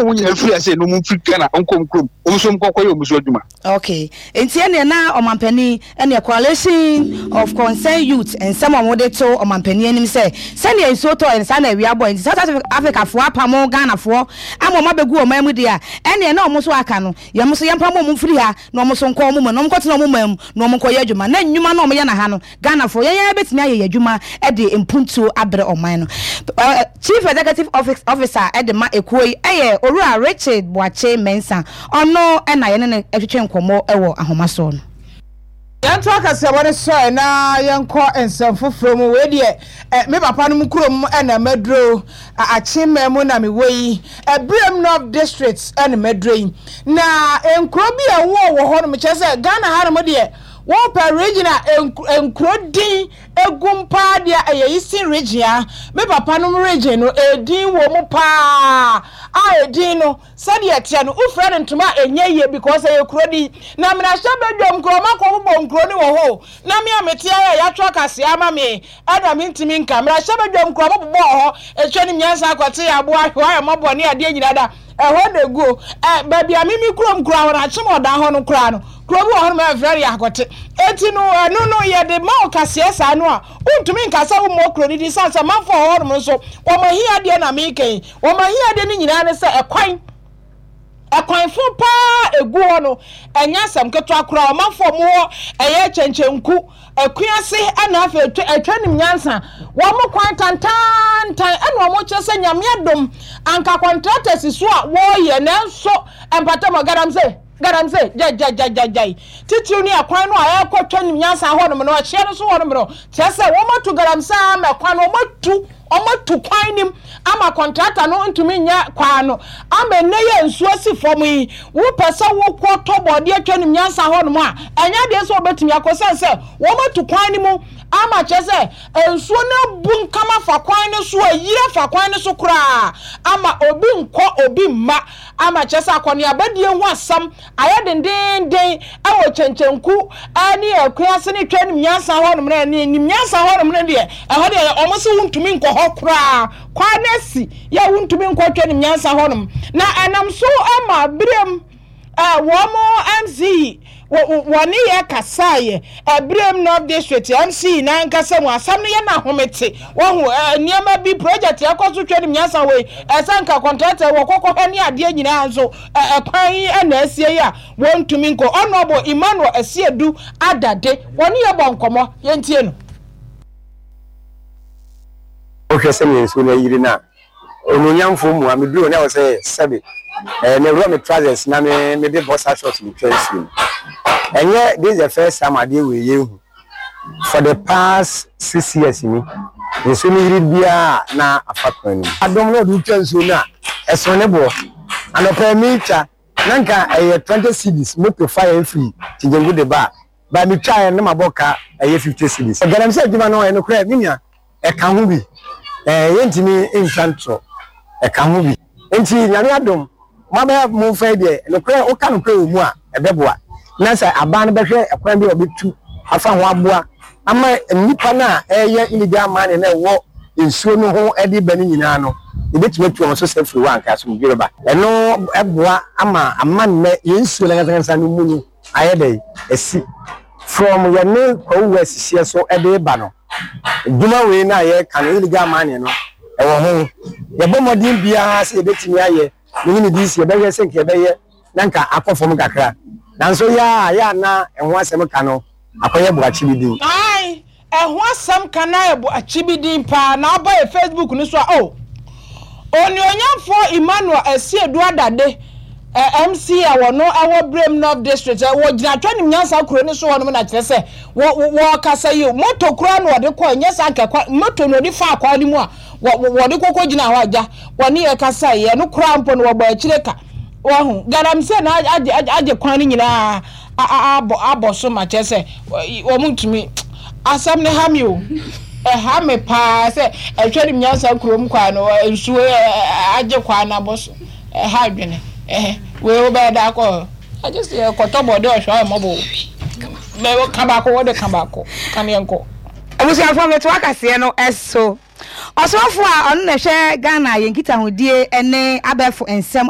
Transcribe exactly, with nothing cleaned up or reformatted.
Wɔn nyinaa firi ase na wɔn firi Ghana nkɔ wɔn kurom, wɔn nso nkɔkɔ yɛ wɔn so adwuma. Okay, nti ɛneɛ na ɔmampanin ɛneɛ Coalition of Concerned Youth nsɛm a wɔde to ɔmampanin anim sɛ sɛnea nsuo tɔɔ no saa na awia bɔɔ, nti South Africafoɔ apamo Ghanafoɔ ama wɔn abɛgu ɔman mu deɛ a, ɛneɛ na wɔn nso aka no yɛn nso yɛmpamo wɔn mfiri ha na wɔn nso nkɔ wɔn mu na wɔn nkɔtena wɔn man mu na wɔn nkɔyɛ adwuma, na nnwuma na wɔyɛ na ha no Ghanafoɔ yɛn yɛn bɛtumi ayɛ yɛn adwuma de mpuntuo abrɛ ɔman no. Chief Executive Officer de ma ekuo yi yɛ Owura Richard Boakye Mensah, ɔno na yɛne no twetwe nkɔmmɔ wɔ ahoma soɔ no. Yɛnto akasaeɛbɔ no so na yɛnkɔ nsɛm foforɔ mu. Wei deɛ, eh, me papa nom kurom na maduro. Akyemma mu na mewɔ yi. Abirem North District na maduro yi. Na nkuro bi a ɛwɔ wɔ hɔ nom, kyerɛ sɛ Ghana ha nom deɛ, wopɛ region a nkuro din egum paa deɛ, ɛyɛ Eastern Region a. Me papa nom region no, edin wɔ mu paa. A edin no, sɛdeɛ ɛteɛ no, wofrɛ no ntoma a ɛnyɛ yie because ɛyɛ kuro din. Na mmarahyɛ badwam kuro, ɔma kɔ bobɔ nkuro no wɔ hɔ. Na me a mete ayɛ yɛatwerɛ kaseɛ ama me, ɛna mentumi nka. Mmarahyɛ badwam kuro, ɔmo bobɔ hɔ. Etwa ne nyansa akɔte aboa ahwɛ ayɛ mmɔbɔ ne adeɛ nyinaa da. Ɛhɔ na egu. Ɛ baabi a mimi kurom kura hɔ no, akyem ɔdan hɔ no koraa no, kuro bi wɔ hɔ no ma yɛfrɛ no yɛakɔte. Eti no, ɛno no yɛde ma wo kaseɛ saa no a, wontumi nka sɛ wommɔ kuro no din sane sɛ manfoɔ wɔ hɔnom nso, wɔn ahiadeɛ na meka yi. Wɔn ahiadeɛ no nyinaa ne sɛ ɛkwan ɛkwanfo paa egu hɔ no, ɛnyɛ asɛm ketewa koraa. Ɔmanfoɔ mo wɔ ɛyɛ Kyɛnkyɛnku, Akuase, ɛna afei atwa atwa nim nyansa wɔn kwan tantantan, ɛna wɔn kyerɛ sɛ Nyame adom anka contractors so a wɔreyɛ, nanso mpatam galamsey galamsey gyagyagyagyagyae titiriw ne ɛkwan no a ɛrekɔ twa nim nyansa hɔnom no, ɛhyeɛ no so hɔnom no, kyerɛ sɛ wɔn atu galamsey ama ɛkwan no, wɔn atu wɔn atu kwan nim ama contractor no ntumi nyɛ kwan no ama nnɛ yɛ nsuo si fam yi. Wopɛ sɛ wokɔ tɔ bɔɔdeɛ atwa nim nyansa hɔnom a, ɛnyɛ adeɛ sɛ wɔbɛtumi akɔ sɛn sɛ wɔn atu kwan no mu ama kyerɛ sɛ nsuo no abu nkama fa kwan no so, ayiri afa kwan no so koraa ama obi nkɔ obi mma, ama kyerɛ sɛ akɔneabadie ho asɛm ayɛ dendenden ɛwɔ Kyɛnkyɛnku ɛne Akuase ne twa nim nyansa hɔnom no. Ɛne nim nyansa hɔnom no deɛ, ɛhɔ deɛ wɔn sɛ wontumi nkɔ hɔ koraa. Kwan no asi yɛ, wontumi nkɔ twa nim nyansa hɔnom, na ɛnam so ama Birem ɛɛ wɔn M C wɔne yɛ kasaeɛ. Abirem North District M C n'ankasa mu asɛm no yɛ n'ahomete wɔho ɛɛ nneɛma bi project ɛkɔ so twɛ nim nyansa wɔ yi, ɛsɛ nka contractor wɔ kɔkɔ hɛ ne adeɛ nyinaa nso ɛkwan yi ɛna asie yi a wɔntumi nkɔ. Honourable Emmanuel Asiedu Adade wɔne yɛ bɔ nkɔmɔ, yɛntie no. Wohwɛ sɛnea nsuo no ayiri no a, onuonyamfoɔ mu a meduru ne wɔ sɛ sɛbe ɛɛ mewura me trousers na me mede boxer shorts metwa nsuo no. Ɛnyɛ this is the first time adeɛ wei yɛhu. For the past six years ni, nsuo no yiri biara na afa kwan no mu. Adɔm na ɔde wotwa nsuo no a, ɛso ne boɔ. Anɔpɛ metwa na nka ɛyɛ twenty cedis moto fa yɛn firi Kyegyengu de ba a ba metwaeɛ no, na mabɔ ka ɛyɛ fifty cedis. Galamsey adwuma no, ɛyɛ nokorɛ me nua, ɛka ho bi. ɛɛ yɛntumi ntwa ntorɔ, ɛka ho bi. Nti Nyame adom mabɛyɛ mo mfa yi deɛ, nokorɛ woka nokorɛ wɔ mu a, ɛbɛboa na sɛ aban no bɛhwɛ ɛkwan bi a ɔbɛtu afa ho aboa ama nnipa no a ɛyɛ illegal mining na ɛwɔ nsuo no ho ɛde ba no nyinaa no, yɛbɛtumi atu wɔn so sɛ firi hɔ anka asomdwe bɛba. Ɛno ɛboa ama ama nnɛ yɛn nsuo no ankasa no mu no ayɛ dɛ ɛsi from yɛne Kwawu West hyeɛ so ɛde ba no. Dwuma wei no a yɛreka no, illegal mining no, ɛwɔ ho. Yɛbɔ mmɔden biara sɛ yɛbɛtumi ayɛ ne ne D C yɛbɛhwɛ sɛ nka yɛbɛyɛ na nka akɔ fam kakra, nanso yɛ a yɛ a na ɛho asɛm ka no akɔyɛ boakye bi din. Ae, ɛho asɛm ka na yɛ boakye bi din paa. Na ɔba yɛ Facebook no so a, o onuonyamfoɔ Emmanuel Asiedu Adade, eh, M C a wɔno ɛwɔ Brem North District, eh, wɔgyina atwa nim nyansa kuro no so hɔnom, na kyerɛ sɛ wɔkasa yi, moto koraa na wɔde kɔ, ɛnyɛ saa nka kwa moto na wɔde fa akwan no mu a wɔde kɔkɔ gyina hɔ agya wɔne yɛ kasa yi, ɛno koraa mpo no wɔbɔ akyire ka wɔho galamsey na agye agye kwan no nyinaa abɔ abɔ so ma kyerɛ sɛ wɔn ntumi. Asɛm ne ha mi o, ɛha me paa sɛ ɛtwa nim nyansa kurom kwan no, nsuo agye kwan no abɔ so. Ɛha adwene ɛhɛ wei wobɛyɛ da akɔ agye sɛ yɛkɔtɔ bɔde ɔhwɛ ɔyɛ mmɔbɔ o. Ka baako, wɔde ka baako ka ne yɛnkɔ. Abusuafoɔ, mɛto akaseɛ no ɛso. Ɔsɔfo a ɔno na ɛhwɛ Ghana yɛn nkitahodie ne abɛɛfo nsɛm.